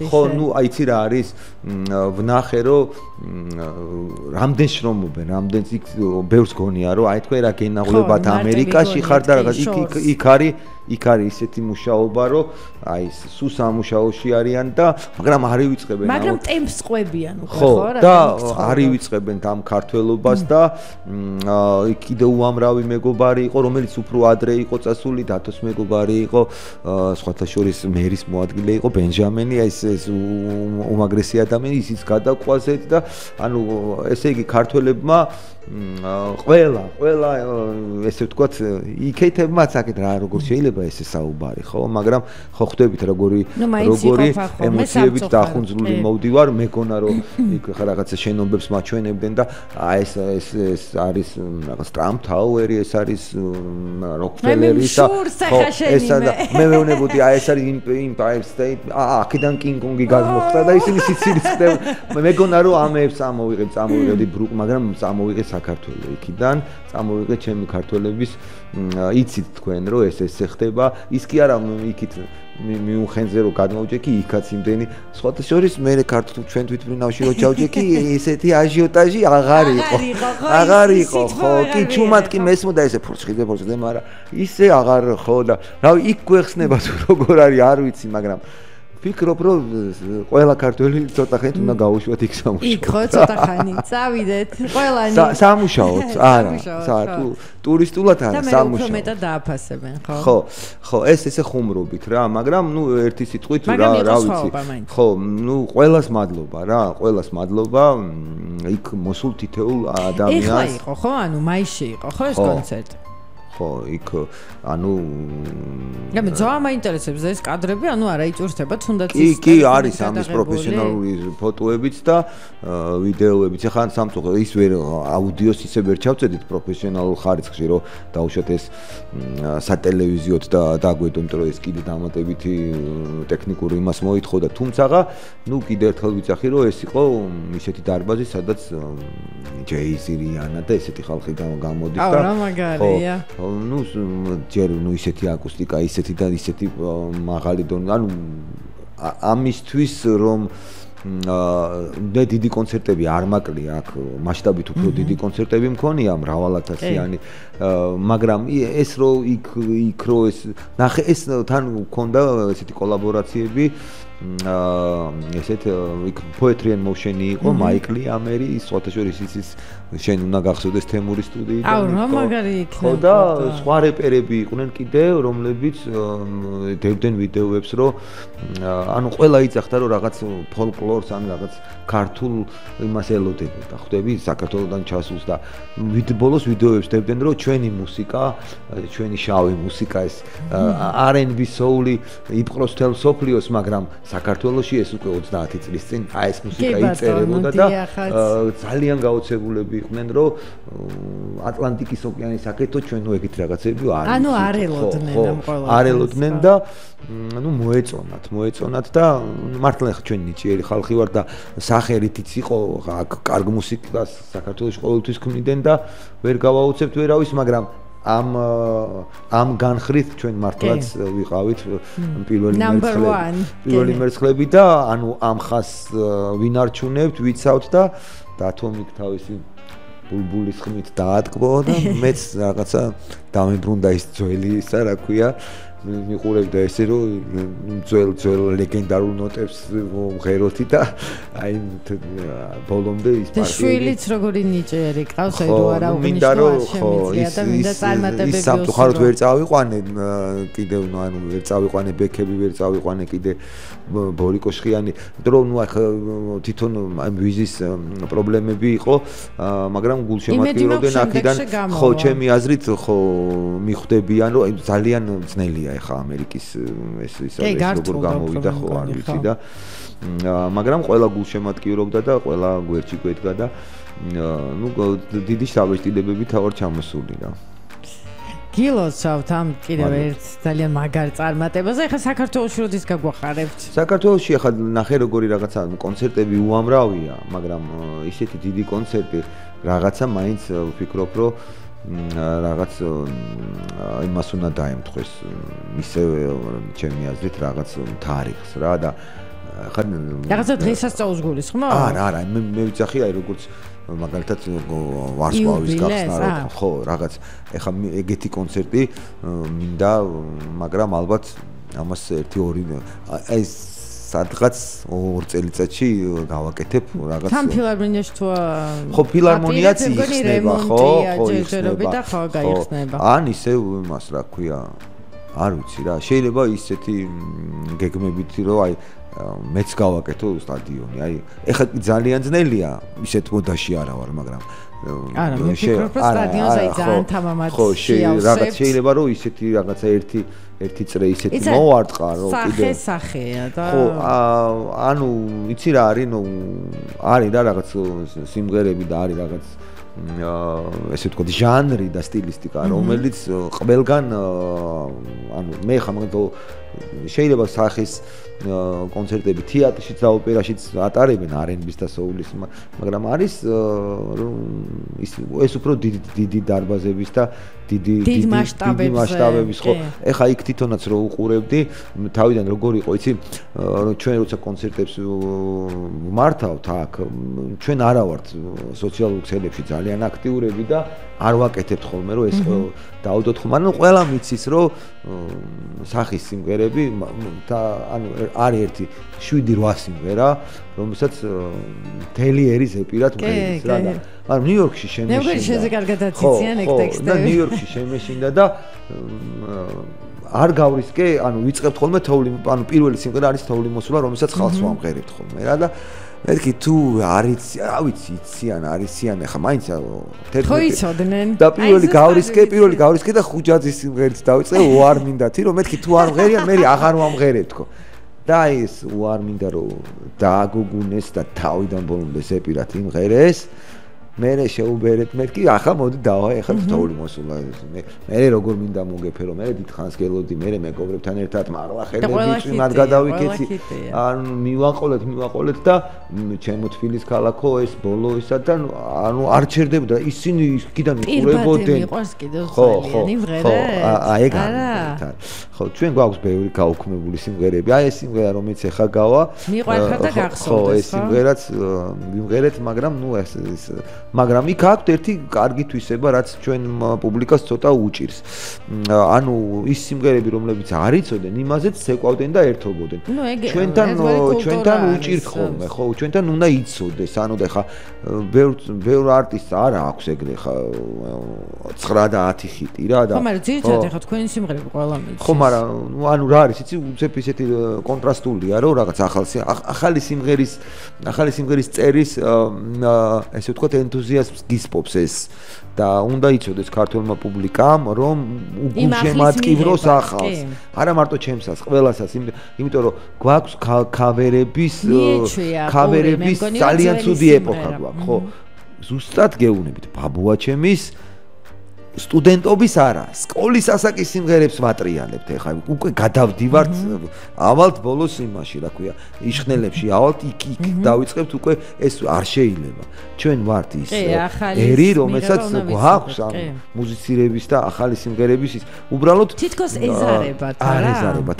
ხო, ნუ აიცი რა არის, ვნახე რომ რამდენ შრომობენ, რამდენ ბევრს გონია რომ აი თქვენ რა გენაღლებათ ამერიკაში ხარ და რაღაც იქ არის ისეთი მუშაობა რომ აი სულ სამუშაოში არიან და მაგრამ არ ივიწყებენ მაგრამ ტემპს ყვებიან უკვე ხო და არ ივიწყებენ ამ ქართველობას და კიდე უამრავი მეგობარი იყო რომელიც უფრო ადრე იყო წასული დათოს მეგობარი იყო სხვათა შორის მერის მოადგილე იყო ბენჟამენი ეს უმაგრესი ადამიანი ისიც გადაყვაზეთ და ანუ ესე იგი ქართველებმა ყველა ესე ვთქვათ იქეთებმაც აქეთ რა როგორ შეიძლება ესე საუბარი ხო მაგრამ ხო ხვდებით როგორი ემოციებით დახუნძლული მოვდივარ მეგონა რომ იქ რაღაცა შენობებს მაჩვენებდნენ და აი ეს არის რაღაც ტრამპ ტაუერი ეს არის როკფელერი და ეს მე მეუბნებოდი აი ეს არის იმპაიერ სტეიტ აქედან კინგ-კონგი გადმოხდა და ისინი სიცილიც ხდება მეგონა რომ ამებს წამოვიღებდი ბრუკ მაგრამ წამოვიღე საქართველოს იქიდან წამოვიღე ჩემი ქართველების იცით თქვენ რომ ეს ხდება ის კი არა იქით მიუხენზე რომ გადმოვჭექი იქაც იმდენი სხვათა შორის მე ქართულ ჩვენ თვითმფრინავში რო ჩავჭექი ესეთი აჟიოტაჟი აღარ იყო ხო კი ჩუმად კი მესმოდა ესე ფურცხიდე მაგრამ ისე აღარ ხო და რავი იქ გვეხსნება თუ როგორ არის არ ვიცი მაგრამ ფიქრობ რომ ყველა ქართველი ცოტა ხნით უნდა გაუშვათ იქ სამუშაოდ. იქ ხო ცოტა ხანი წავიდეთ ყველანი. სამუშაოდ არა ტურისტულად არა სამუშაოდ. და მე უფრო მეტად დააფასებენ ხო? ხო ეს ესე ხუმრობით რა მაგრამ ნუ ერთი სიტყვით რა ვიცი. ხო ნუ ყველას მადლობა რა ყველას მადლობა იქ მოსულ თითოეულ ადამიანს. ეხლა იყო ხო ანუ მაისში იყო ხო ეს კონცერტი? ხო იქ ანუ მე ძმა მაინტერესებს ეს კადრები ანუ არა იწურთება თუნდაც ის კი არის ამის პროფესიონალური ფოტოებიც და ვიდეოებიც ახლა სამწუხაროდ ის ვერ აუდიოს ისე ვერ ჩავწედით პროფესიონალურ ხარისხში რომ დაუშვათ ეს სატელევიზიოდ და დაგვედო იმიტომ რომ ეს კიდე დამატებითი ტექნიკური იმას მოითხოვ და თუმცაღა ნუ კიდე ერთხელ ვიცახი რომ ეს იყო ისეთი დარბაზი სადაც ჯეიზი რიანა და ესეთი ხალხი გამოდის და რა მაგარია ну ჯერ ну ისეთი აკუსტიკა ისეთი და ისეთი მაღალი დონე ანუ ამისთვის რომ მე დიდი კონცერტები არ მაკლია აქ მასშტაბით უფრო დიდი კონცერტები მქონია მრავალათასიანი მაგრამ ეს რო იქ რო ეს ნახე ეს თან მქონდა ესეთი კოლაბორაციები ესეთ იქ poetry and motion-ი იყო მაიკლი ამერი სხვათა შორის ის შენ უნდა გახსოვდეს თემურის სტუდიიდან აუ რა მაგარი იქნება ხო და სხვა რეპერები იყვნენ კიდე რომლებიც დევდნენ ვიდეოებს რომ ანუ ყველა იცახდა რომ რაღაც ფოლკლორს ან რაღაც ქართულ იმას ელოდებოდა ხვდები საქართველოსთან ჩასულს და ბოლოს ვიდეოებს დევდნენ რომ ჩვენი მუსიკა ჩვენი შავი მუსიკა ეს R&B soul-ი იპყროს თელ სოფლიოს მაგრამ საქართველოში ეს უკვე 30 წლის წინ აი ეს მუსიკა იწერებოდა და ძალიან გაოცებულები იყვნენ რომ ატლანტიკის ოკეანის აკეთო ჩვენ ეგეთ რაღაცები არ ანუ არ ელოდნენ ამ ყოველ არ ელოდნენ და ну მოეწონათ და მართლა ჩვენ ნიჭიერი ხალხი ვარ და სახელითიც იყო კარგ მუსიკას საქართველოს ყოველთვის ქმნიდნენ და ვერ გავაუცებთ ვერავის მაგრამ ამ განხრით ჩვენ მართლაც ვიყავით პირველი მერცხლები და ანუ ამ ხას ვინ არჩუნებთ ვიცავთ და დათომიკ თავისი ბულბულის ხმით დაატკბო და მეც რაღაცა დამებრუნდა ის ძველი ისა რა ქვია მიყურებდა ესე რომ ძველ ლეგენდარულ ნოტებს ღეროთი და აი ბოლომდე ის პარტია შვილიც როგორი ნიჭიერი ყავს აი რო არა უნიშნო შემიძლია და მინდა წარმატებები ის სამწუხაროდ ვერ წავიყვანე კიდევ ანუ ვერ წავიყვანე ბექები ვერ წავიყვანე კიდე ბორიკო შხიანი იმიტომ რომ ნუ ახლა თვითონ ამ ვიზის პრობლემები იყო მაგრამ გულშემატკივრობდნენ აქედან ხო ჩემი აზრით ხო მიხვდებიან რომ ძალიან ძნელია ეხა ამერიკის ეს როგორ გამოვიდა ხო არ ვიცი და მაგრამ ყველა გულშემატკივრობდა და ყველა გვერდში გვედგა და ნუ დიდი შთაბეჭდილებები თავად ჩამოსული რა გილოცავთ ამ კიდევ ერთ ძალიან მაგარ წარმატებას ეხა საქართველოში როდის გაგვახარებთ საქართველოში ეხა ნახე როგორი რაღაცა კონცერტები უამრავია მაგრამ ისეთი დიდი კონცერტი რაღაცა მაინც ვფიქრობ რომ რაღაც იმას უნდა დაემთხოს ისე ჩემი აზრით რაღაც თარიღს რა და ხან რაღაცა დღესასწაულს გულისხმობ? არა, მე ვიცახი აი როგორც მაგალითად ვარსკვლავის გახსნა რომ ხო რაღაც ეხა ეგეთი კონცერტი მინდა მაგრამ ალბათ ამას 1-2 აი სადღაც 2 წელიწადში გავაკეთებ რაღაც თან ფილარმონიაში თუ ხო ფილარმონიაც იხსნება ხო იხსნება ხო გაიხსნება ან ისევ იმას რა ქვია არ ვიცი რა შეიძლება ისეთი გეგმებით რომ აი მეც გავაკეთო სტადიონი აი ეხლა ძალიან ძნელია ისეთ მოდაში არა ვარ მაგრამ არა მე ვფიქრობ რომ სტადიონზე აი ძალიან თამამად ხო რაღაც შეიძლება რომ ისეთი რაღაცა ერთი წრე ისეთი მოვარტყა რომ კიდე სახეა და ხო ანუ იცი რა არის ნუ არის რა რაღაც სიმღერები და არის რაღაც ესე ვთქვათ ჟანრი და სტილისტიკა რომელიც ყველგან ანუ მე ხა მაგალითად შეიძლება სახის კონცერტები თეატრშიც და ოპერაშიც ატარებენ R&B-ს და soul-ის მაგრამ არის ეს უფრო დიდი დარბაზების და დიდი მასშტაბების ხო ეხა იქ თვითონაც რო უყურებდი თავიდან როგორ იყო იცი ჩვენ როცა კონცერტებს მართავთ აქ ჩვენ არა ვართ სოციალურ ქსელებში ძალიან აქტიურები და არ ვაკეთებთ ხოლმე რომ ეს დაუდოთ ხოლმე ანუ ყველა მიცის რომ სახის სიმღერები და ანუ არის ერთი 7-8 სიმღერა რომელსაც თელიერი ზეპირად მღერის რა და ანუ ნიუ-იორკში შემეშინდა მე მგონი შეზე კარგად აციციან ეგ ტექსტები და ნიუ-იორკში შემეშინდა და არ გავრისკე ანუ ვიწყებთ ხოლმე თოვლი ანუ პირველი სიმღერა არის თოვლი მოსულა რომელსაც ხალხს ვამღერებთ ხოლმე რა და მეთქი თუ არის რა ვიცი იციან არისიან ახლა მაინც 11 ხო იცოდნენ და პირველი გავრისკე და ხუჯაძის სიმღერით დავიწყე უარ მინდათი რომ მეთქი თუ არ მღერიან მე აღარ ვამღერებ თქო და ეს უარ მინდა რომ დააგოგუნეს და თავიდან ბოლომდე ზეპირად იმღერეს მე შეუბერეთ მეთქი ახლა მოდი დავა ახლა თოვლი მოსულა მე როგორ მინდა მოგეფერო მე დიდხანს გელოდი მე მეგობრებთან ერთად მარლა ხელები წვიმად გადავიქეცი ანუ მივაყოლეთ და ჩემო თბილის ქალაქო ეს ბოლო ისა და ანუ არ ჩერდებოდა ისინი იქიდან იყურებოდნენ ხო ეგ არა ხო ჩვენ გვაქვს ბევრი გაუქმებული სიმღერები აი ეს სიმღერა რომელიც ეხა გავა მიყვარხარ და გახსოვდეს ხო ეს სიმღერაც ვიმღერეთ მაგრამ ნუ ეს მაგრამ იქ აქვს ერთი კარგი თვისება რაც ჩვენ პუბლიკას ცოტა უჭირს ანუ ის სიმღერები რომლებიც არ იცოდნენ იმაზეც ცეკვავდნენ და ერთობოდნენ ჩვენთან უჭირთ ხოლმე ხო ჩვენთან უნდა იცოდეს ანუ და ხა ბევრ არტისტს არ აქვს ეგრე ხა 9 და 10 ხიტი რა და ხო მაგრამ ძირითადად ხა თქვენი სიმღერები ყველა მიცის ხო მაგრამ ანუ რა არის იცი უცებ ისეთი კონტრასტულია რომ რაღაც ახალი სიმღერის წერის ესე ვთქვათ ენთუზიაზმს გისპობს ეს და უნდა იცოდეს ქართულმა პუბლიკამ რომ უგულშემატკივროს ახალს არა მარტო ჩემსაც ყველასაც იმიტომ რომ გვაქვს ქავერების ძალიან ცუდი ეპოქა გვაქვს ხო ზუსტად გეუბნებით ბაბუაჩემის სტუდენტობის არა სკოლის ასაკის სიმღერებს ვატრიალებთ ეხლა უკვე გადავდივართ ავალთ ბოლოს იმაში რა ქვია იშხნელებში ავალთ იქ დავიწყებთ უკვე ეს არ შეიძლება ჩვენ ვართ ის ერი რომელსაც გვაქვს ამ მუსიცირების და ახალი სიმღერების ის უბრალოდ თითქოს ეზარებათ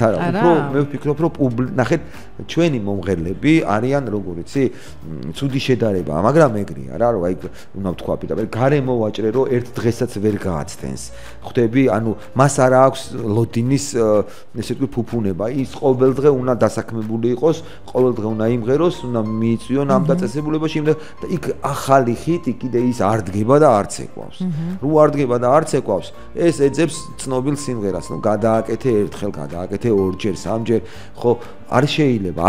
არა უფრო მე ვფიქრობ რომ ნახეთ ჩვენი მომღერლები არიან როგორ იცი ცუდი შედარება მაგრამ ეგრეა რა რომ აი უნდა ვთქვა პირდაპირ გარემო ვაჭრე რომ ერთ დღესაც ვერ გააცდენს ხვდები ანუ მას არ აქვს ლოდინის ესე ვთქვი ფუფუნება ის ყოველდღე უნდა დასაქმებული იყოს ყოველდღე უნდა იმღეროს უნდა მიიწვიონ ამ დაწესებულებაში და იქ ახალი ხიტი კიდე ის არ დგება და არც ეკვავს რო არ დგება და არც ეკვავს ეს ეძებს ცნობილ სიმღერას ნუ გადააკეთე ერთხელ გადააკეთე ორჯერ სამჯერ ხო არ შეიძლება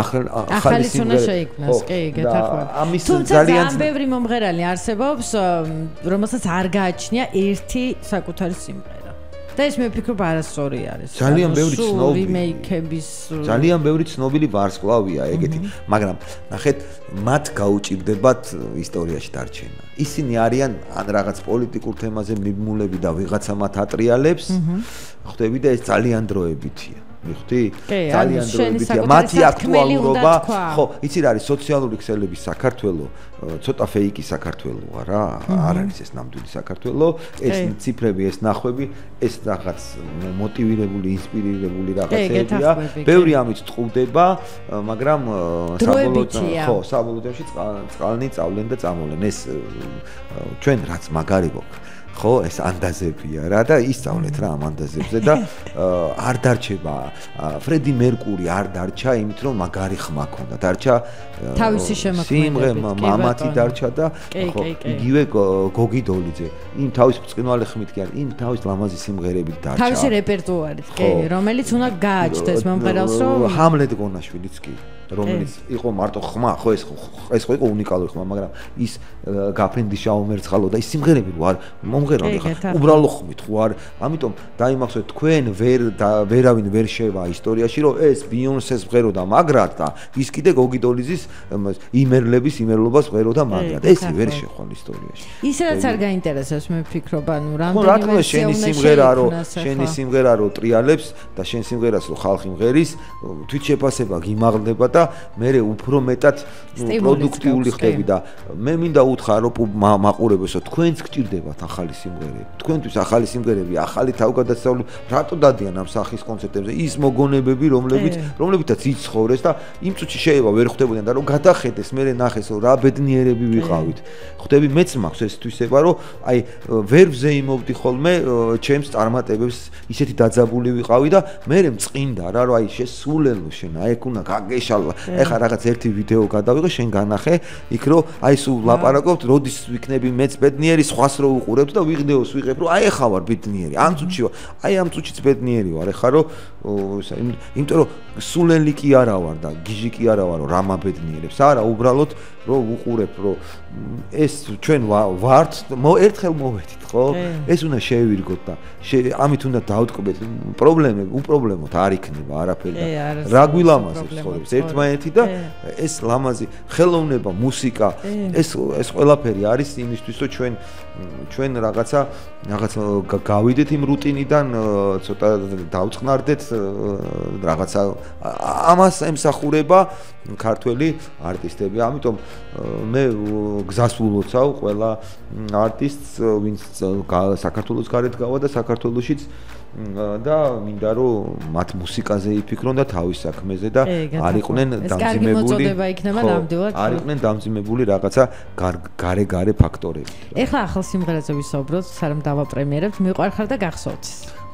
ახალი სიმღერა შეიქმნას კი გეთახმები ამის ძალიან ბევრი მომღერალი არსებობს რომელსაც არ გააჩნია ერთი საკუთარი სიმღერა და ეს მე ვფიქრობ არასწორი არის ძალიან ბევრი ცნობილი რიმეიქების ძალიან ბევრი ცნობილი ვარსკვლავია ეგეთი მაგრამ ნახეთ მათ გაუჭირდებათ ისტორიაში დარჩენა ისინი არიან ან რაღაც პოლიტიკურ თემაზე მიმულები და ვიღაცა მათ ატრიალებს ხვდები და ეს ძალიან დროებითია მიხდი? ძალიან დროებითია. მათი აქტუალურობა, ხო, იცი რა არის სოციალური ქსელების საქართველო, ცოტა ფეიკი საქართველოა რა, არ არის ეს ნამდვილი საქართველო, ეს ციფრები, ეს ნახვები, ეს რაღაც მოტივირებული, ინსპირირებული რაღაცებია. ბევრი ამით წყვდება, მაგრამ საბოლოოში წყალნი წავლენ და წამოვლენ. ეს ჩვენ რაც მაგარი გვაქვს. ხო, ეს ანდაზებია რა და ისწავლეთ რა ამ ანდაზებზე და არ დარჩება ფრედი მერკური არ დარჩა იმით რომ მაგარი ხმა ქონდა დარჩა თავისი შემოქმედება მამათი დარჩა და ხო იგივე გოგი დოლიძე იმ თავის ბრწყინვალე ხმით კი არის იმ თავის ლამაზი სიმღერებით დარჩა თავისი რეპერტუარით კი რომელიც უნდა გააჩნდეს მომღერალს რომ ჰამლეტ გონაშვილიც კი რომელიც იყო მარტო ხმა ხო ეს ხო იყო უნიკალური ხმა მაგრამ ის გაფრინდი შაუმერცხალო და ის სიმღერები რო არ მომღერალი ხა უბრალო ხმით ხო არ ამიტომ დაიმახსოვრეთ თქვენ ვერავინ ვერ შევა ისტორიაში რომ ეს ბიონსეს მღეროდა მაგრად და ის კიდე გოგი დოლიძის იმერლების იმერლობას მღეროდა მაგრად ეს ვერ შეხვალ ისტორიაში ისედაც არ გაინტერესებს მე ვფიქრობ ანუ რამდენიმე შენი სიმღერა რო ტრიალებს და შენ სიმღერას რო ხალხი მღერის თვითშეფასება გიმაღლდება და მე უფრო მეტად პროდუქტიული ხდები და მე მინდა უთხრა რომ მაყურებელსო თქვენც გჭირდებათ ახალი სიმღერები თქვენთვის ახალი სიმღერები ახალი თავგადასავლები რატო დადიან ამ სახის კონცერტებზე ის მოგონებები რომლებითაც იცხოვრეს და იმ წუთში შეიძლება ვერ ხვდებოდნენ და რომ გადახედეს მე ნახეს რომ რა ბედნიერები ვიყავით ხვდები მეც მაქვს ეს თვისება რომ აი ვერ ვზეიმობდი ხოლმე ჩემს წარმატებებს ისეთი დაძაბული ვიყავი და მე მწყინდა რა რომ აი შესულელო შენ აი ეგ უნდა გაგეშალვა ეხა რაღაც ერთი ვიდეო გადავიღე შენ განახე იქ რომ აი სულ ლაპარაკობთ როდის ვიქნები მეც ბედნიერი სხვას რო უყურებთ და ვიღდეოს ვიღებ რომ აი ეხა ვარ ბედნიერი ამ წუთში ვარ აი ამ წუთშიც ბედნიერი ვარ ეხა რომ იმიტომ რომ სულელი კი არა ვარ და გიჟი კი არა ვარ რომ რამა ბედნიერებს არა უბრალოდ რომ უყურებ რომ ეს ჩვენ ვართ ერთხელ მოვედით ხო ეს უნდა შევირგოთ და ამით უნდა დავტკბეთ პრობლემები უპრობლემოდ არ იქნება არაფერი და რა გვილამაზებს ხოლმე ერთმანეთი და ეს ლამაზი ხელოვნება მუსიკა ეს ყველაფერი არის იმისთვის რომ ჩვენ რაღაცა გავიდეთ იმ რუტინიდან ცოტა დავწყნარდეთ რაღაცა ამას ემსახურება ქართველი არტისტები ამიტომ მე გზას ულოცავ ყველა არტისტს ვინც საქართველოს გარეთ გავა და საქართველოშიც და მინდა რომ მათ მუსიკაზე იფიქრონ და თავის საქმეზე და არ იყვნენ დამძიმებული არ იყვნენ დამძიმებული რაღაცა გარე ფაქტორები. ეხლა ახალ სიმღერაზე ვისაუბროთ, სანამ დავაპრემიერებთ, მიყვარხარ და გახსოვთ.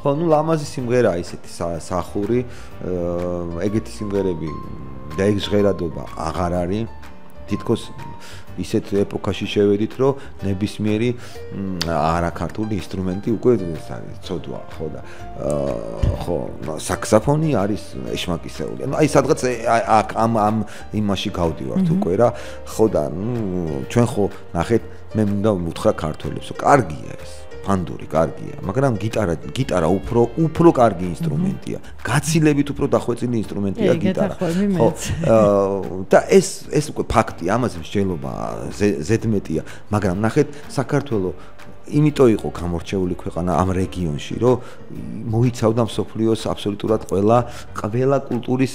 ხო, ნუ ლამაზი სიმღერაა ისეთი სახური, ეგეთი სიმღერები და ეგ ჟღერადობა აღარ არის. თითქოს ისეთ ეპოქაში შევედით, რომ ნებისმიერი არაქართული ინსტრუმენტი უკვე ცოდვა, ხო და ხო, საქსოფონი არის ეშმაკისეული. ანუ აი სადღაც ამ იმაში გავდივართ უკვე რა. ხო და ჩვენ ხო ნახეთ, მე მინდა უთხრა ქართველებს, რომ კარგია ეს. ფანდური კარგია, მაგრამ გიტარა უფრო კარგი ინსტრუმენტია. გაცილებით უფრო დახვეწილი ინსტრუმენტია გიტარა. ხო. და ეს უკვე ფაქტია, ამაზე მსჯელობა ზედმეტია, მაგრამ ნახეთ, საქართველოს იმიტომ იყო გამორჩეული ქვეყანა ამ რეგიონში, რომ მოიცავდა მსოფლიოს აბსოლუტურად ყველა კულტურის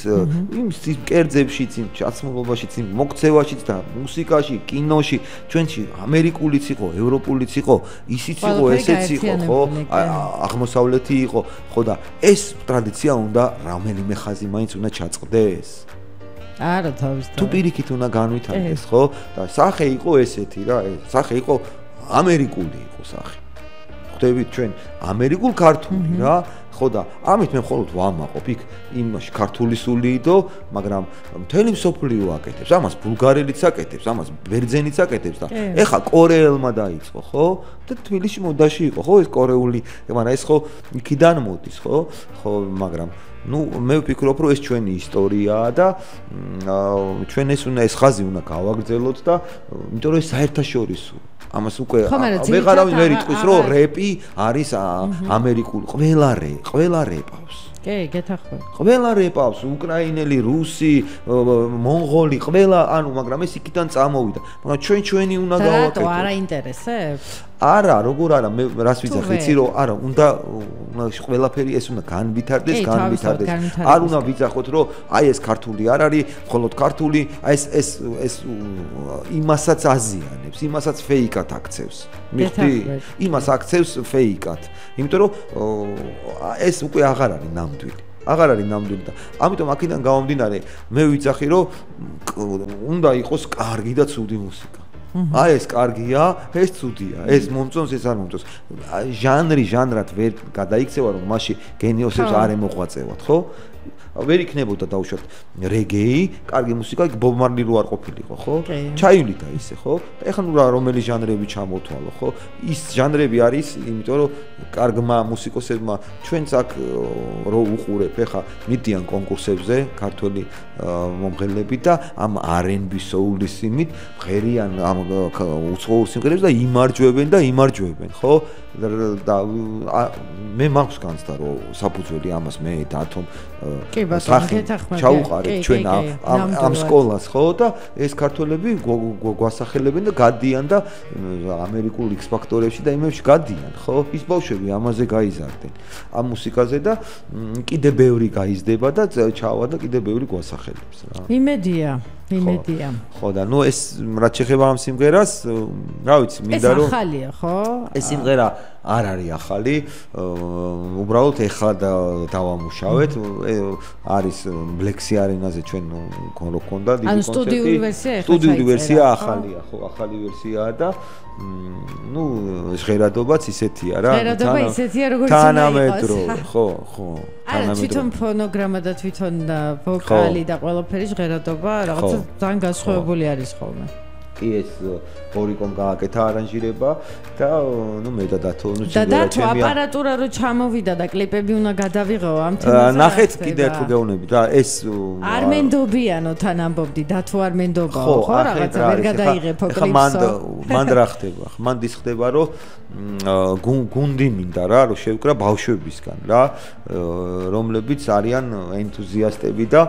იმ კერძებშიც, იმ ჩაცმულობაშიც, იმ მოქცევაშიც და მუსიკაში, კინოში, ჩვენში ამერიკულიც იყო, ევროპულიც იყო, ისიც იყო, ესეც იყო, ხო? აღმოსავლეთი იყო, ხო და ეს ტრადიცია უნდა რომელიმე ხაზი მაინც უნდა ჩაწყდეს. არა, თავისთავად. თუ პირიქით უნდა განვითარდეს, ხო? და სახე იყო ესეთი რა, სახე იყო ამერიკული იყო სახე. ხვდებით ჩვენ ამერიკულ ქართული რა, ხო და ამით მე მხოლოდ ვამაყობ იქ იმაში ქართული სულიიდო, მაგრამ მთელი მსოფლიო აკეთებს, ამას ბულგარელიც აკეთებს, ამას ბერძენიც აკეთებს და ეხა კორეელმა დაიწყო, ხო? და თბილისში მოდაში იყო, ხო ეს კორეული, მაგრამ ეს ხო იქიდან მოდის, ხო? ხო, მაგრამ ну, მე ვფიქრობ, რომ ეს ჩვენი ისტორიაა და ჩვენ ეს ხაზი უნდა გავაგრძელოთ და იმიტომ რომ ეს საერთაშორისო ამას უკვე ვეღარავინ ვერ იტყვის, რომ რეპი არის ამერიკული, ყველა რეპავს. კი, გეთახმები. ყველა რეპავს, უკრაინელი, რუსი, მონღოლი, ყველა, ანუ მაგრამ ეს იქიდან წამოვიდა. მაგრამ ჩვენი უნდა გავაკეთოთ. რატო არ აინტერესებს? არა, როგორ არა, მე რას ვიძახი, იცი რომ არა, უნდა ყველაფერი ეს უნდა განვითარდეს. არ უნდა ვიძახოთ, რომ აი ეს ქართული არ არის, მხოლოდ ქართული, აი ეს იმასაც აზიანებს, იმასაც ფეიკად აქცევს. მიხდი? იმას აქცევს ფეიკად. იმიტომ რომ ეს უკვე აღარ არის ნამდვილი. აღარ არის ნამდვილი და ამიტომ აქედან გამომდინარე მე ვიძახი რომ უნდა იყოს კარგი და ცუდი მუსიკა. აი ეს კარგია, ეს ცუდია, ეს მომწონს, ეს არ მომწონს. ჟანრად ვერ გადაიქცევა რომ მასში გენიოსებს არ ემოღვაწევათ, ხო? ვერ იქნებოდა დაუშვათ რეგეი, კარგი მუსიკა, ბობ მარლი რო არ ყოფილიყო, ხო? ჩაივლიდა ისე, ხო? და ეხლა ნუ რომელი ჟანრები ჩამოთვალო, ხო? ის ჟანრები არის, იმიტომ რომ კარგმა მუსიკოსებმა ჩვენც აქ რო უყურებ, ეხლა მიდიან კონკურსებზე ქართველი მომღერლები და ამ R&B soul-ის იმით ღერიან ამ უცხოურ სიმღერებს და იმარჯვებენ, ხო? და მე მაქვს განცდა რომ საფუძველი ამას მე დათომ ჩაუყარეთ ჩვენ ამ სკოლას ხო და ეს ქართველები გვასახელებენ და გადიან და ამერიკულ X ფაქტორებში და იმებში გადიან ხო ის ბავშვები ამაზე გაიზარდნენ ამ მუსიკაზე და კიდე ბევრი გაიზრდება და ჩავა და კიდე ბევრი გვასახელებს რა იმედია ხო და ნუ ეს რაც შეეხება ამ სიმღერას რა ვიცი მინდა რომ ეს ახალია ხო ეს სიმღერა არ არის ახალი უბრალოდ ეხლა დავამუშავეთ არის Black-Sea Arena-ზე ჩვენ რო გქონდა დიდი კონცერტი სტუდიური ვერსია ახალია ხო ახალი ვერსიაა და ну ჟღერადობაც ისეთია რა ჟღერადობა ისეთია როგორც თანამედრო ხო თანამედრო თვითონ ფონოგრამა და თვითონ ვოკალი და ყველაფერი ჟღერადობა რაღაცა ძალიან განსხვავებული არის ხოლმე კი ეს ორიკომ გააკეთა არანჟირება და ნუ მე და დათო ნუ და აპარატურა რო ჩამოვიდა და კლიპები უნდა გადავიღო ამ თემაზე ნახეთ კიდე ერთხელ გეუბნები და ეს არ მენდობიანო თან ამბობდი დათო არ მენდობაო ხო რაღაცა ვერ გადაიღებო კლიპსო მან რა ხდება მან დის ხდება რომ გუნდი მინდა რა რომ შევკრა ბავშვებისგან რა რომლებიც არიან ენთუზიასტები და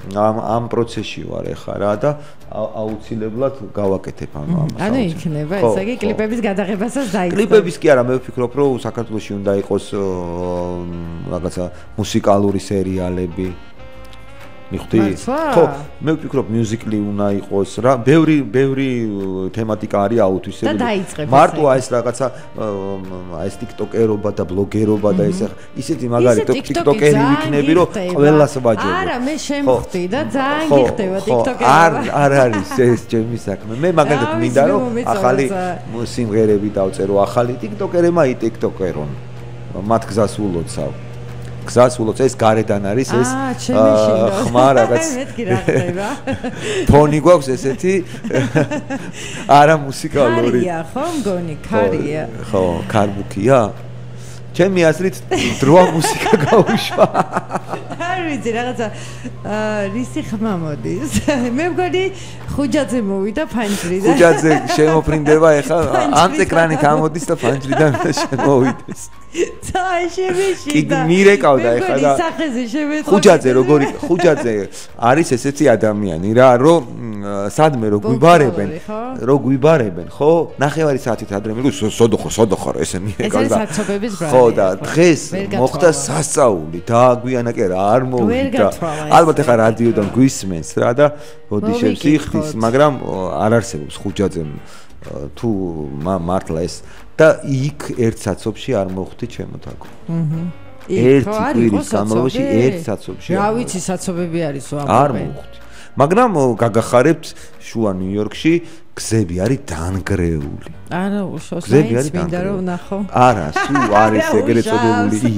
ამ პროცესში ვარ ეხლა რა და აუცილებლად გავაკეთებ ამას. ანუ იქნება ესე იგი კლიპების გადაღებასაც დაიწყო. კლიპების კი არა, მე ვფიქრობ, რომ საქართველოში უნდა იყოს რაღაცა მუსიკალური სერიალები. მიხდი? ხო, მე ვფიქრობ, მიუზიკლი უნდა იყოს რა, ბევრი თემატიკა არის აუთვისებული. მარტო ეს რაღაცა ეს TikTok-ერობა და ბლოგერობა და ისეთი მაგარი TikTok-ერი ვიქნები, რომ ყველას ვაჯობ. არა, მე შემხვდი და ძალიან გიხდება TikTok-ერობა. არ არის ეს ჩემი საქმე. მე მაგალითად მინდა რომ ახალი სიმღერები დავწერო, ახალი TikTok-ერემა TikTok-ერონ. მათ გზას ულოცავ. გზასულოც ეს გარედან არის ეს ხმა რაღაც მეთქი რა ხდება ფონი გვაქვს ესეთი არა მუსიკალური ქარია ხო მგონი ქარია ხო ქარბუქია ჩემი აზრით დროა მუსიკა გაუშვა არ ვიცი რაღაცა რისი ხმა მოდის მე მგონი ხუჯაძე მოვიდა ფანჯრიდან ხუჯაძე შემოფრინდება ეხლა ამ ეკრანით ამოდის და ფანჯრიდან შემოვიდეს წაიშებიში კი მირეკავდა ეხლა და ხუჯაძე როგორი ხუჯაძე არის ესეთი ადამიანი რა რომ სადმე რო გვიბარებენ ხო ნახევარი საათით ადრე მიგო სოდოხო ესე მირეკავდა ეს საცობების ბრალი ხო და დღეს მოხდა სასწაული დააგვიანა კი რა არ მოვიდა ალბათ ეხლა რადიოდან გვისმენს რა და ბოდიშებს იხდის მაგრამ არ არსებობს ხუჯაძემ თუ მართლა ეს და იქ ერთ საცობში არ მოხვდი ჩემო თაკო. ერთი კვირის განმავლობაში ერთ საცობში. რა ვიცი საცობები არისო ამ არ მოხვდი. მაგრამ გაგახარებთ შუა ნიუ-იორკში გზები არის დანგრეული. არა, უშოშაიც მინდა რომ ნახო. არა, სულ არის ეგრეთ წოდებული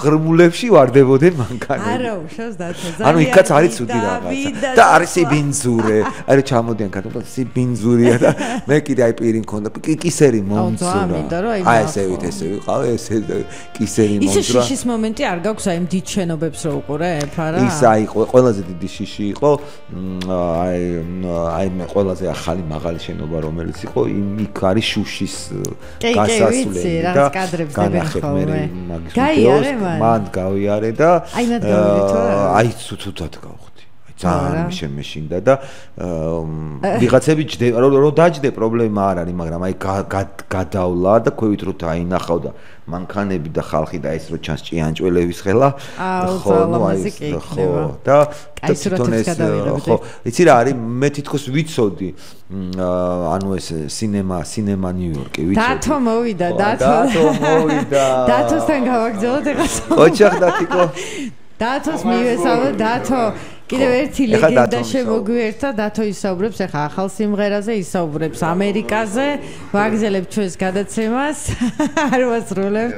ღრმულებში ვარდებოდნენ მანქანები. არა, უშავს დათო. ძალიან. ანუ იქაც არის ცუდი რაღაცა. და არის სიბინძურე. აი ჩამოდიან ქართულად სიბინძურია და მე კიდე აი პირი მქონდა. კისერი მომწრა. აი ესე ვიყავ, ესე კისერი მომწრა. ისე შიშის მომენტი არ გაქვს აი დიდ შენობებს რო უყურებ, არა? ის აი ყველაზე დიდი შიში იყო აი მე ყველაზე ახალი მაღალი შენობა რომელიც იყო იქ არის შუშის გასასვლელი და განახებ მე მაგის ვიდეოს მან გავიარე და აი ცუდად გავხდი აი ძალიან შემეშინდა და ვიღაცები რომ დაჯდე პრობლემა არ არის, მაგრამ აი გადავლა და ქვევით რო დაინახავ და მანქანები და ხალხი და ეს რო ჩანს ჭიანჭველების ხელა, ხო, ნუ აი ხო და თვითონ ეს ხო, იცი რა არის, მე თითქოს ვიცოდი ანუ ეს სინემა ნიუ-იორკი ვიცოდი. დათო მოვიდა. დათოსთან გავაგზავნოთ ეხლა. ოჩახ დათიკო. დათოს მივესალმე, დათო კიდევ ერთი ლეგენდა შემოგვიერთა, დათო ისაუბრებს ახლა ახალ სიმღერაზე, ისაუბრებს ამერიკაზე, ვაგზელებ ჩვენს გადაცემას, არ ვასრულებ.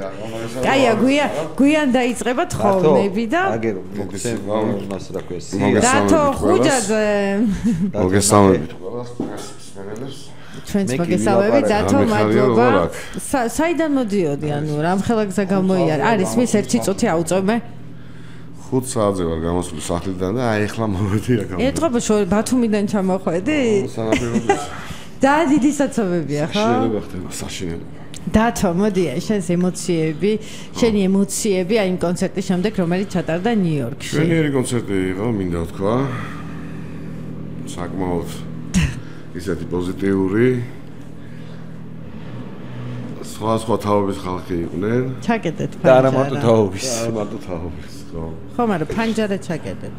კაია, გვიან დაიწყება თხოვნები და აგერო, მოგესალმებით, რა ქვია. დათო ხუჯაძე. მოგესალმებით ყველას, სპეციალისტებს. ჩვენს მოგესალმებით, დათო, მადლობა. საიდან მოდიოდი, ანუ რამხელა გზა გამოიარა? არის მის ერთი წუთი აუწევმე? 5 საათზე ვარ გამოსული სახლიდან და აი ახლა მოვედი აქ. ეტყობა ბათუმიდან ჩამოხვედი? სანაპიროზე. და დიდი საცობებია, ხო? შეიძლება ხდება საშინელება. დათო, მოდი, შენს ემოციები, შენი ემოციები აი იმ კონცერტის შემდეგ, რომელიც ჩატარდა ნიუ-იორკში. შენიერი კონცერტი იყო, მინდა ვთქვა. საკმაოდ ისეთი პოზიტიური. სხვა თაობის ხალხი იყვნენ. ჩაკეტეთ და არა მარტო თაობის. ხო, მაგრამ ფანჯარა ჩაკეტეთ.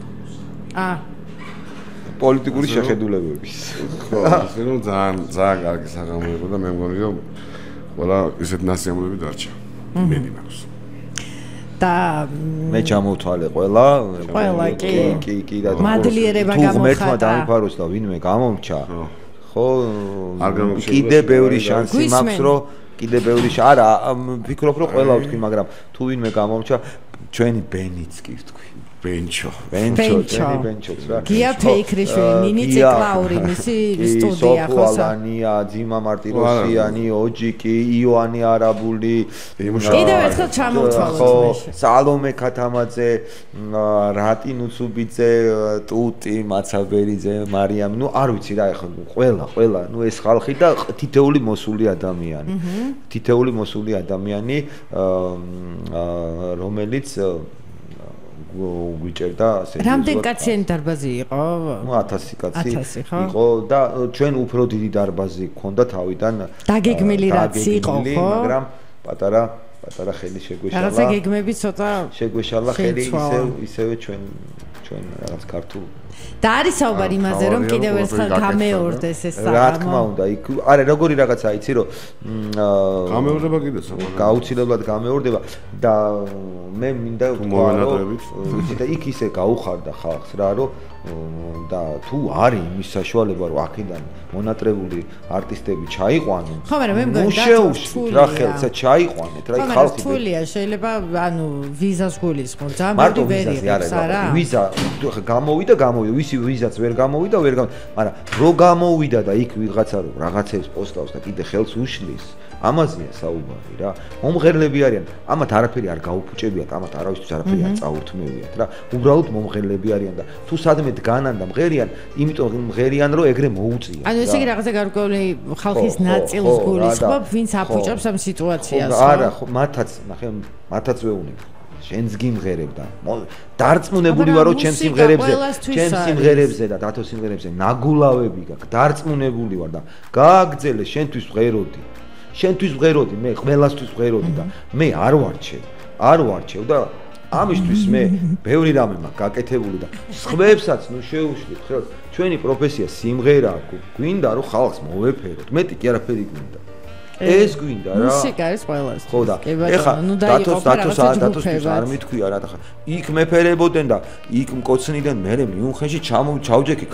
პოლიტიკური შეხედულებების. ხო, ისე რომ ძალიან კარგი საღამო იყო და მე მგონი რომ ყველა ისეთ ნასიამურები დარჩა. მედი მაქვს. და მე ჩამოვთვალე ყველა კი და მადლიერება გამოხატა. თუ ღმერთმა დამიფაროს და ვინმე გამომრჩა. ხო, კიდე ბევრი შანსი მაქვს რომ კიდე ბევრი არა ვფიქრობ რომ ყველა ვთქვი, მაგრამ თუ ვინმე გამომრჩა ჩვენი ბენიც კი ვთქვი. ბენჩო რა. გია ფეიქრიშვილი, ნინი ციკლაური, მისი სტუდია ხო? სოფალანია, ძიმა მარტიროსიანი, ოჯიკი, იოანი არაბული, კიდევ ერთხელ ჩამოვთვალოთ. სალომე ქათამაძე, რატი ნუცუბიძე, ტუტი მაცაბერიძე, მარიამი, ნუ არ ვიცი რა ეხლა ყველა, ნუ ეს ხალხი და თითეული მოსული ადამიანი, რომელიც გვიჭერდა რამდენ კაციანი დარბაზი იყო? 1000 კაცი იყო და ჩვენ უფრო დიდი დარბაზი გქონდა თავიდან. დაგეგმილი რაც იყო, ხო? მაგრამ პატარა ხელი შეგვეშალა. რაღაცა გეგმები ცოტა შეგვეშალა ხელი ისევე ჩვენ რაღაც ქართულ და არის საუბარი იმაზე რომ კიდევ ერთხელ გამეორდეს ეს საღამო. რა თქმა უნდა, იქ არა როგორი რაღაცა იცი რომ გამეორდება კიდეც გაუცილებლად გამეორდება და მე მინდა ვთქვა რომ და იქ ისე გაუხარდა ხალხს რა რომ და თუ არის იმის საშუალება რომ აქედან მონატრებული არტისტები ჩაიყვანონ. ხო, მაგრამ მე მგონი შეუშვით რა ხელსა ჩაიყვანეთ რა იქ ხალხი თულია შეიძლება ანუ ვიზას გულისხმობ ძალიან ბევრი ვერიებს არა ვიზა გამოვიდა ვისი ვიზაც ვერ გამოვიდა მაგრამ რო გამოვიდა და იქ ვიღაცა რომ რაღაცებს პოსტავს და კიდე ხელს უშლის ამაზეა საუბარი რა მომღერლები არიან ამათ არაფერი არ გაუფუჭებიათ ამათ არავისთვის არაფერი არ წაურთმევიათ რა უბრალოდ მომღერლები არიან და თუ სადმე დგანან და მღერიან იმიტომ მღერიან რომ ეგრე მოუწიათ ანუ ესე იგი რაღაცა გარკვეული ხალხის ნაწილს გულისხმობ ვინც აფუჭებს ამ სიტუაციას არა ხო მათაც ვეუბნები შენს გიმღერებდა დარწმუნებული ვარო ჩემს სიმღერებზე და დათოს სიმღერებზე ნაგულავები გაქვს დარწმუნებული ვარ და გააგზელე შენთვის ვღეროდი მე ყველასთვის ვღეროდი და მე არ ვარჩევ და ამისთვის მე ბევრი რამე მაქვს გაკეთებული და სხვებსაც ნუ შეუშლით ხო ჩვენი პროფესია სიმღერაა გვინდა რომ ხალხს მოვეფეროთ მეტი კი არაფერი გვინდა ეს გვინდა რა მუსიკა არის ყველას ხო და ეხა დათოს არ მithქვია რა და იქ მეფერებოდნენ და იქ მკოცნიდან მე მიუნხენში ჩავჯექი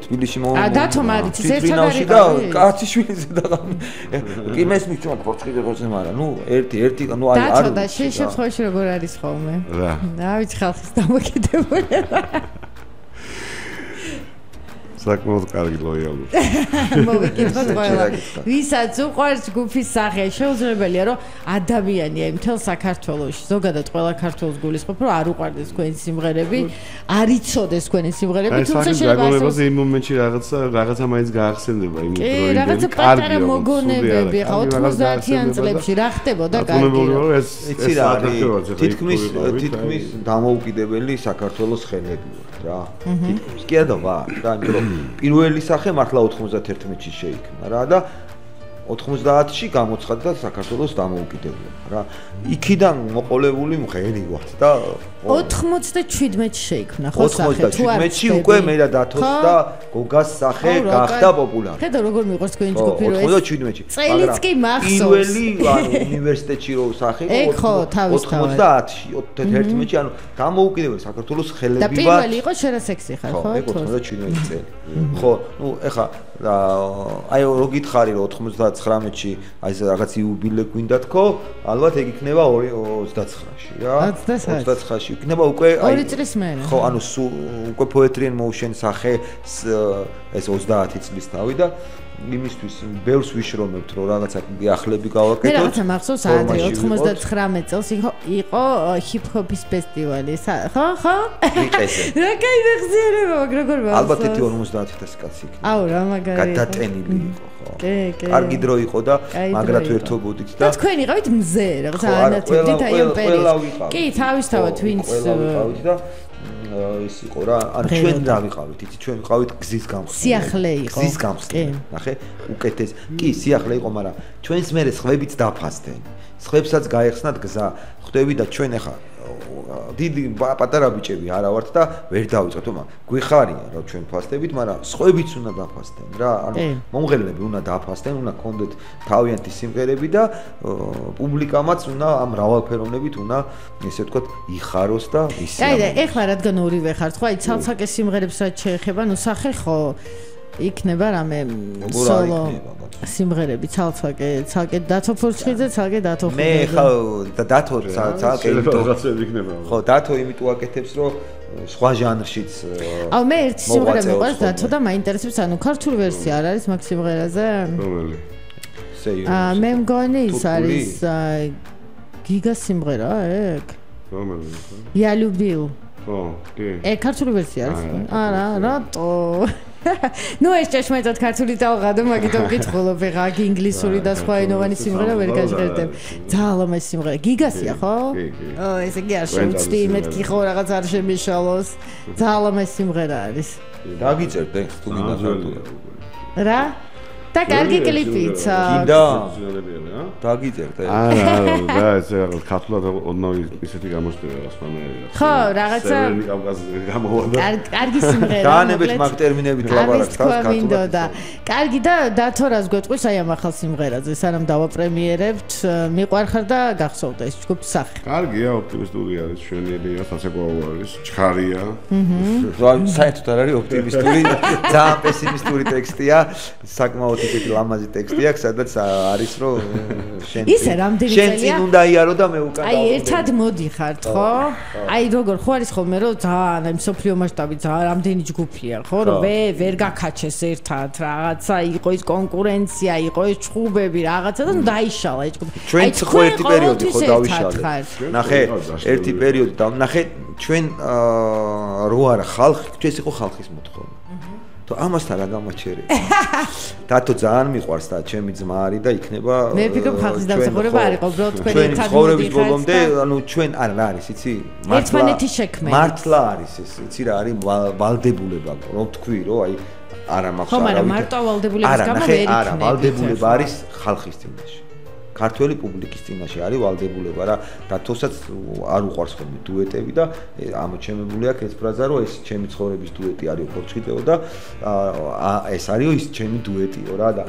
თბილისში დათო მარიც ერთად არის და კაციშვილიზე და კი მესმის ჩვენ პორტყიდე მაგრამ ნუ ერთი ნუ არ დათო და შენ შემთხვევაში როგორ არის ხოლმე რა ვიცი ხალხის დამოკიდებული საკმაოდ კარგი ლოიალური. მოვიკითხოთ ყველა. ვისაც უყვარს ჯგუფის სახე, შეუძლებელია რომ ადამიანია იმ მთელ საქართველოში, ზოგადად ყველა ქართველს გულისხმობ, რომ არ უყვარდეს თქვენი სიმღერები, არ იცოდეს თქვენი სიმღერები, თუმცა შეიძლება იმ მომენტში რაღაცა მაინც გაახსენდება იმ დროიდან. რაღაცა პატარა მოგონებები, ხა 90-იან წლებში რა ხდებოდა კარგი. იცი რა არის? თითქმის დამოუკიდებელი საქართველოს ხელები ვართ რა. თითქმის კი არა ვარ რა, იმიტომ რომ პირველი სახე მართლა 91-ში შეიქმნა რა და 90-ში გამოცხადდა საქართველოს დამოუკიდებლობა რა. იქიდან მოყოლებული მღერი ვართ და 97-ში შეიქმნა ხო სახე? 97-ში უკვე მე და დათოს და გოგას სახე გახდა პოპულარი. ხედავ როგორ მიყვარს თქვენი ჯგუფი რო 97-ში. წელიც კი მახსოვს. პირველი უნივერსიტეტში რო სახე 90-ში, 91-ში, ანუ დამოუკიდებელი საქართველოს ხელები ვართ. და პირველი იყო შერასექსი ხარ ხო? 97 წელი. ხო, ნუ ეხა აი რო გითხარი რომ 99-ში აი ეს რაღაც იუბილე გვინდა თქო, ალბათ ეგ იქნება 29-ში რა. 29-ში იქნება უკვე აი 2 წლის მერე. ხო, ანუ უკვე Poetry in Motion სახე ეს 30 წლის თავი და იმისთვის ბევრს ვიშრომებთ რომ რაღაცა ახლები გავაკეთოთ. მე რაღაცა მახსოვს ადრე 99 წელს იყო ჰიპ-ჰოპის ფესტივალი. ხო? ვიყეზე. რა кай ვეხზიერება, როგორ მახსოვს? ალბათ 50,000 კაცი იქნება. აუ რა მაგარი. გადატენილი იყო ხო. კი. კარგი დრო იყო და მაგრად ვერთობოდით და თქვენ იყავით მზე რაღაცა ანათებდით აი ამ პერიოდში. კი, თავისთავად ვინც ვიყავით და ის იყო რა, ანუ ჩვენ რა ვიყავით, იცი ჩვენ ვიყავით გზის გამხსნელი. სიახლე იყო. გზის გამხსნელი. ნახე, უკეთეს. კი, სიახლე იყო, მაგრამ ჩვენს მერე სხვებიც დაფასდნენ. სხვებსაც გაეხსნათ გზა. ხვდები და ჩვენ ახლა დიდი პატარა ბიჭები არა ვართ და ვერ დავიწყეთ, თუმცა გვიხარია რომ ჩვენ ფასდებით, მაგრამ სხვებიც უნდა დაფასდნენ რა, ანუ მომღერლები უნდა დაფასდნენ, უნდა კონდეთ თავიანთი სიმღერები და პუბლიკამაც უნდა ამ მრავალფეროვნებით უნდა ესე ვთქვათ იხაროს და ისე. აი და ეხლა რადგან ორივე ხართ, ხო, აი ცალ-ცალკე სიმღერებს რაც შეეხება, ნუ სახე ხო იქნება რამე სოლო სიმღერები ცალკე დათო ფურჩხიძე, ცალკე დათო ხუძე. მე ხო და დათო ცალკე რაღაცები იქნება. ხო, დათო იმიტომ აკეთებს, რომ სხვა ჟანრშიც. აუ მე ერთი სიმღერა მიყვარს დათო და მაინტერესებს, ანუ ქართული ვერსია არ არის მაგ სიმღერაზე? რომელი? მე მგონი ის არის გიგა სიმღერა ეგ. რომელი? Я любил. ხო, კი. ქართული ვერსია არის? არა, რატო? ნუ ეს ჭეშმარიტად ქართული დავღადო, მაგიტომ გითხულობ, ეხა ინგლისური და სხვა ენოვანი სიმღერა ვერ გაჟღერდებ. ძალიან ლამაზი სიმღერა. გიგასია, ხო? კი, კი. ესე იგი არ შევწდი, მეთქი ხო რაღაც არ შემიშალოს. ძალიან ლამაზი სიმღერა არის. დაგიწერდე, თუ გინდა ქართულად. რა? და კარგი კლიპიც. გინდა? დაგიწერდე. არა, და ეს რაღაც ქართულად ოდნავ ისეთი გამოჩნდება სხვანაირად. ხო, რაღაცა სევერნი კავკასიიდან გამოვიდა. კარგი სიმღერა. განებით მაგ ტერმინებით ლაპარაკს ქართულად. კარგი და დათო რას გვეტყვის აი ამ ახალ სიმღერაზე, სანამ დავაპრემიერებთ, მიყვარხარ და გახსოვდა ეს ჯგუფის სახე. კარგია, ოპტიმისტური არის, შვენიერია, სასაკვაო არის, ჩქარია. საერთოდ არ არის ოპტიმისტური, ძალიან პესიმისტური ტექსტია, საკმაოდ ისეთი ლამაზი ტექსტი აქვს, სადაც არის რომ ისე რამდენი წელია? შენ წინ უნდა იარო და მე უკან. აი ერთად მოდიხართ, ხო? აი როგორ ხო არის ხოლმე რომ ძალიან აი მსოფლიო მასშტაბით ძალიან რამდენი ჯგუფია, ხო? რომ ვერ გაკაჩეს ერთად, რაღაცა იყო ის კონკურენცია, იყო ეს ჩხუბები, რაღაცა და დაიშალა ეს ჯგუფი. ჩვენ ხო ერთი პერიოდი ხო დავიშალეთ. ნახე, ერთი პერიოდი და ნახე ჩვენ რო არა ხალხი, ეს იყო ხალხის მოთხოვნა. ამასთან რა გამაჩერე. დათო ძალიან მიყვარს და ჩემი ძმა არის და იქნება მე ვფიქრობ ხალხის დამსახურება არ იყო, უბრალოდ თქვენ ერთად ცხოვრების ბოლომდე, ანუ ჩვენ არა რა არის, იცი? ერთმანეთის შექმნა. მართლა არის ეს, იცი რა არის ვალდებულება, რომ თქვი, რომ აი არა მაქვს არავითარ. ხო, მაგრამ მარტო ვალდებულების გამო ვერ იქნება. არა, ვალდებულება არის ხალხის წინაშე. ქართველი პუბლიკის წინაშე არის ვალდებულება რა. დათოსაც არ უყვარს ხოლმე დუეტები და ამოჩემებული აქვს ეს ფრაზა, რომ ეს ჩემი ცხოვრების დუეტი არის ფორჩხიტეო და ეს არის ის ჩემი დუეტიო რა და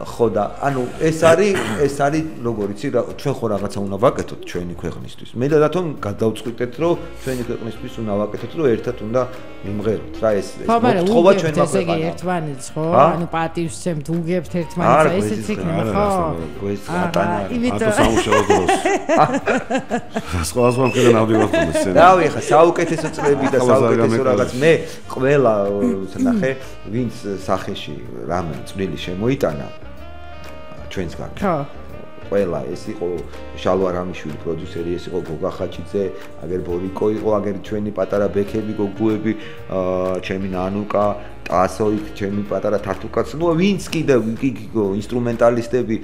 ხო და ანუ ეს არის როგორ იცი რა ჩვენ ხო რაღაცა უნდა ვაკეთოთ ჩვენი ქვეყნისთვის. მე და დათომ გადავწყვიტეთ, რომ ჩვენი ქვეყნისთვის უნდა ვაკეთოთ, რომ ერთად უნდა მიმღეროთ რა ეს მოთხოვა ჩვენმა ქვეყანამ. ერთმანეთს ხო? ანუ პატივს ჩემთ უგებთ ერთმანეთს, ესეც იქნება ხო? გვეს ატანა ატო სამუშაო დროს სხვა მქონდა ნავდივარ ხოლმე სცენა რავი ხა საუკეთესო წლები და საუკეთესო რაღაც მე ყველა ნახე ვინც სახეში რამე წვლილი შემოიტანა ჩვენსგან ხო ყველა ეს იყო შალვა რამიშვილი პროდიუსერი ეს იყო გოგა ხაჩიძე აგერ ბორიკო იყო აგერ ჩვენი პატარა ბექები გოგუები ჩემი ნანუკა ტასო იქ ჩემი პატარა თათუკაც ნუ ვინც კიდე ინსტრუმენტალისტები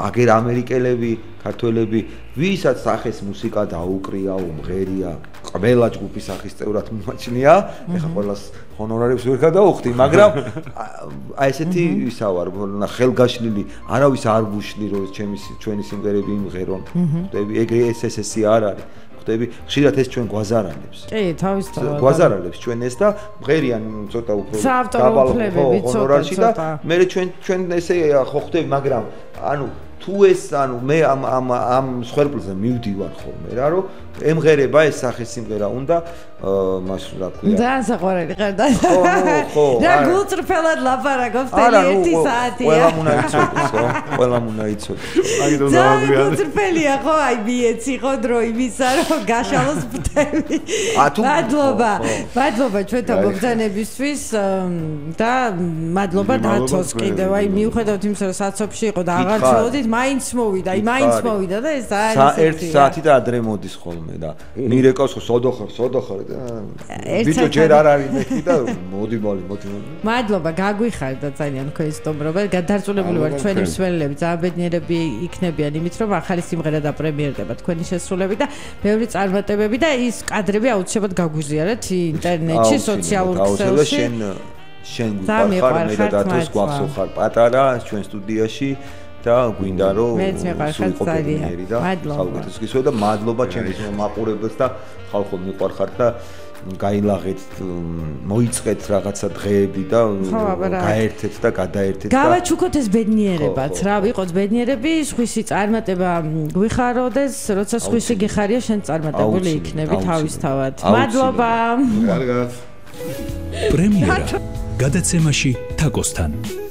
აგერ ამერიკელები ქართველები ვისაც სახეს მუსიკა დაუკრია უმღერია ყველა ჯგუფის სახის წევრად მომაჩნია ეხა ყველას ჰონორარებს ვერ გადაუხდი მაგრამ აი ესეთი ისა ვარ ხელგაშლილი არავის არ ვუშლი რომ ჩვენი სიმღერები იმღერონ ხვდები ეგრე ეს არ არის ხვდები ხშირად ეს ჩვენ გვაზარალებს კი თავისთავად გვაზარალებს ჩვენ ეს და მღერიან ცოტა უფრო დაბალ ჰონორარში და მე ჩვენ ესე ხო ხვდები მაგრამ ანუ თუ ეს ანუ მე ამ სხერბლზე მივდივარ ხოლმე რა რომ ემღერება ეს სახის სიმღერა უნდა მას რა ქვია და საყვარელი ხარ და ხო რა გულწრფელად ლაპარაკობს თელი 1 საათია ყველამ უნდა იცოდეს ხო ყველამ უნდა იცოდეს აგიდო და გულწრფელია ხო აი მიეცი ხო დრო იმისა რომ გაშალოს ბთები მადლობა ჩვენთან მომბრძანებისთვის და მადლობა დათოს კიდევ აი მიუხედავად იმისა რომ საცობში იყო და აღარ ცდილობდით მაინც მოვიდა და ეს არის 1 საათი და ადრე მოდის ხოლმე და მირეკავს ხო სოდოხარ და ბიჭო ჯერ არ არის მეკი და მოდი მადლობა გაგვიხარდა ძალიან თქვენი სტუმრობა გადარწმუნებული ვარ ჩვენი მსმენელები ძალიან ბედნიერები იქნებიან იმით რომ ახალი სიმღერა დაპრემიერდება თქვენი შესრულებით და ბევრი წარმატებები და ის კადრები აუცილებლად გაგვიზიარეთ ინტერნეტში სოციალურ ქსელში შენ გვიყარ მე და დათოს გვახსოვ ხარ პატარა ჩვენ სტუდიაში და გვინდა რომ სულიყო ბედნიერი და საუკეთესო გისვა და მადლობა ჩემთვის მაყურებელს და ხალხო მიყვარხართ და გაილაღეთ მოიწყეთ რაღაცა დღეები და გაერთეთ და გადაერთეთ და გავაჩუქოთ ეს ბედნიერებაც რა ვიყოთ ბედნიერები სხვისი წარმატება გვიხაროდეს როცა სხვისი გიხარია შენ წარმატებული იქნები თავისთავად მადლობა კარგად პრემიერა გადაცემაში თაკოსთან